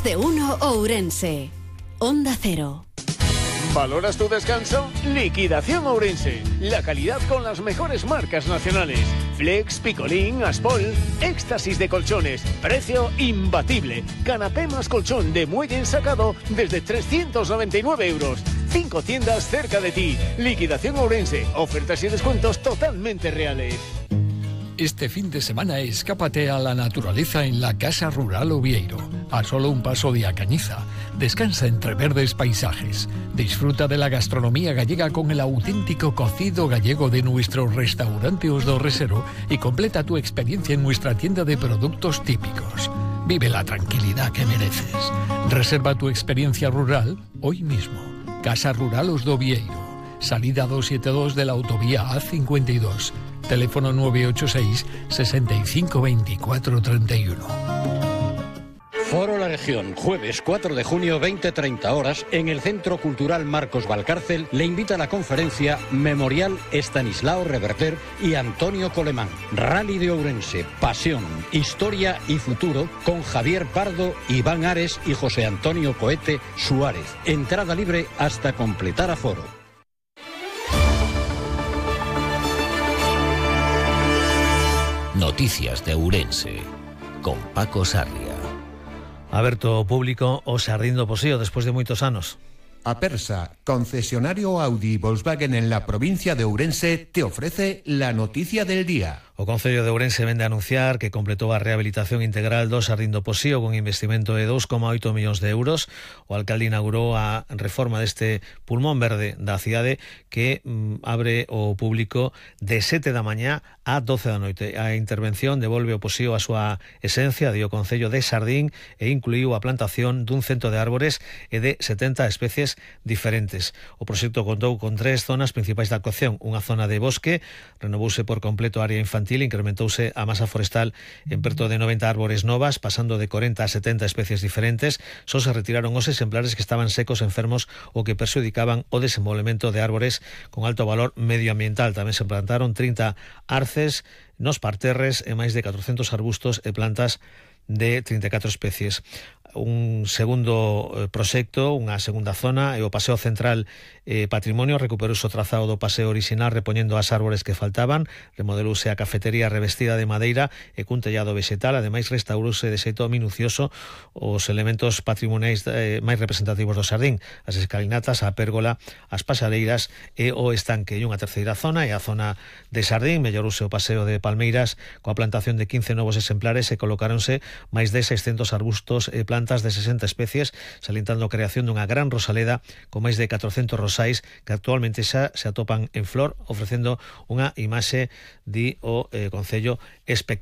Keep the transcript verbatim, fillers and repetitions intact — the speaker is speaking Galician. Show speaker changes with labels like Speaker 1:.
Speaker 1: Más de uno Ourense. Onda Cero.
Speaker 2: ¿Valoras tu descanso? Liquidación Ourense. La calidad con las mejores marcas nacionales. Flex, Picolín, Aspol. Éxtasis de colchones. Precio imbatible. Canapé más colchón de muelle ensacado desde trescientos noventa y nueve euros. Cinco tiendas cerca de ti. Liquidación Ourense. Ofertas y descuentos totalmente reales.
Speaker 3: Este fin de semana escápate a la naturaleza en la Casa Rural Oviedo, a solo un paso de A Cañiza. Descansa entre verdes paisajes. Disfruta de la gastronomía gallega con el auténtico cocido gallego de nuestro restaurante Os do Resero y completa tu experiencia en nuestra tienda de productos típicos. Vive la tranquilidad que mereces. Reserva tu experiencia rural hoy mismo. Casa Rural Os do Oviedo. Salida doscientos setenta y dos de la autovía A cincuenta y dos. Teléfono nueve ocho seis, sesenta y cinco, veinticuatro, treinta y uno.
Speaker 4: Foro La Región, jueves cuatro de junio, veinte treinta horas, en el Centro Cultural Marcos Valcárcel, le invita a la conferencia Memorial Estanislao Reverter y Antonio Colemán. Rally de Ourense, pasión, historia y futuro, con Javier Pardo, Iván Ares y José Antonio Coete Suárez. Entrada libre hasta completar aforo.
Speaker 5: Noticias de Ourense, con Paco Sarria.
Speaker 6: Aberto público o Sardín do Posío despois de moitos anos.
Speaker 7: Apersa, concesionario Audi y Volkswagen en la provincia de Ourense, te ofrece la noticia del día.
Speaker 6: O Concello de Ourense vende a anunciar que completou a rehabilitación integral do Sardín do Posío con investimento de dous coma oito millóns de euros. O alcalde inaugurou a reforma deste pulmón verde da cidade que mm, abre o público de sete da mañá a doce da noite. A intervención devolve o Posío a súa esencia, di o Concello de Sardín, e incluiu a plantación dun cento de árbores e de setenta especies diferentes. O proxecto contou con tres zonas principais da actuación. Unha zona de bosque, renovouse por completo a área infantil, incrementouse a masa forestal en perto de noventa árbores novas, pasando de corenta a setenta especies diferentes. Só se retiraron os exemplares que estaban secos, enfermos ou que perxudicaban o desenvolvemento de árbores con alto valor medioambiental. Tamén se plantaron trinta arces nos parterres e máis de catrocentos arbustos e plantas de trinta e catro especies. Un segundo eh, proxecto, unha segunda zona, e o Paseo Central eh, Patrimonio recuperouse o trazado do paseo orixinal repoñendo as árbores que faltaban, remodelouse a cafetería revestida de madeira e cun tellado vegetal, ademais restaurouse de xeito minucioso os elementos patrimoniais eh, máis representativos do Sardín, as escalinatas, a pérgola, as pasareiras e o estanque. E unha terceira zona é a zona de Sardín, mellorouse o paseo de Palmeiras coa plantación de quince novos exemplares e colocáronse máis de seiscentos arbustos e plantas de sesenta especies, salientando a creación dunha gran rosaleda con máis de catrocentos rosais que actualmente xa se atopan en flor, ofrecendo unha imaxe, di o eh, Concello, espectacular.